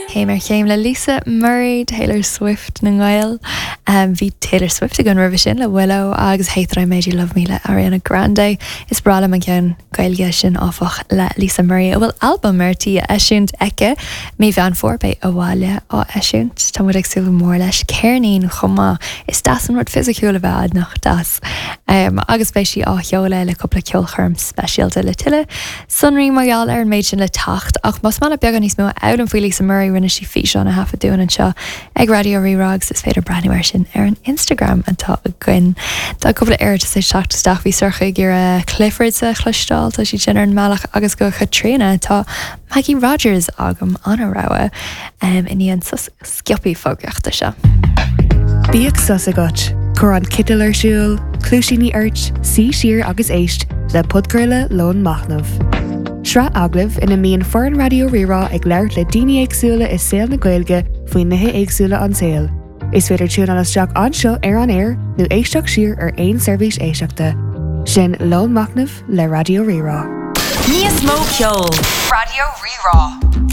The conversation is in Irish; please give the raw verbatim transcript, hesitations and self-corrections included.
Céim ar chéim le Lisa Murray Taylor Swift na nGael. Um, bhí Taylor Swift againn roimhe sin le Willow agus Hate That I Made You Love Me le Ariana Grande. Is breá liom an ceann Gaeilge sin áfach le Lisa Murray a bhfuil albam ar tí a eisiúint aici mí Mheán Fómhair beidh Abhaile á eisiúint Tá muid ag súil mór leis ceirnín chomh maith is deas an rud fisiciúil a bheith nach deas. Um, agus beidh sí á sheoladh le cúpla ceolchoirm speisialta le tuilleadh. Sonraí mar gheall ar an méid sin le teacht ach más maith beagán níos mó a fhoghlaim faoi Lisa Murray rinne sí físeán a thaifead dúinn anseo ag Raidió Rí-Rá agus is féidir breathnú air sin ar an Instagram atá againn. Tá cúpla iarratas ag teacht isteach bhí Sorcha ag iarraidh Clifford a chloisteáil tá sí sin ar an mbealach agus go Caitríona tá Maggie Rogers agam ina rogha um, i ndiaidh an sos sciobtha fógraíochta seo. Bíodh sos agat, Cuir an citeal ar siúl, cluaisíní ort, suigh siar agus éist le podchraoladh Lón Machnaimh. Sraith agallamh ina mbíonn foireann Raidió Rí-Rá ag labhairt le daoine éagsúla i saol na Gaeilge faoi nithe éagsúla an tsaoil. Is féidir tiúnáil isteach anseo ar an aer nó éisteacht siar ar aon seirbhís éisteachta. Sin Lón Machnaimh le Raidió Rí-Rá. Níos mó ceol. Raidió Rí-Rá.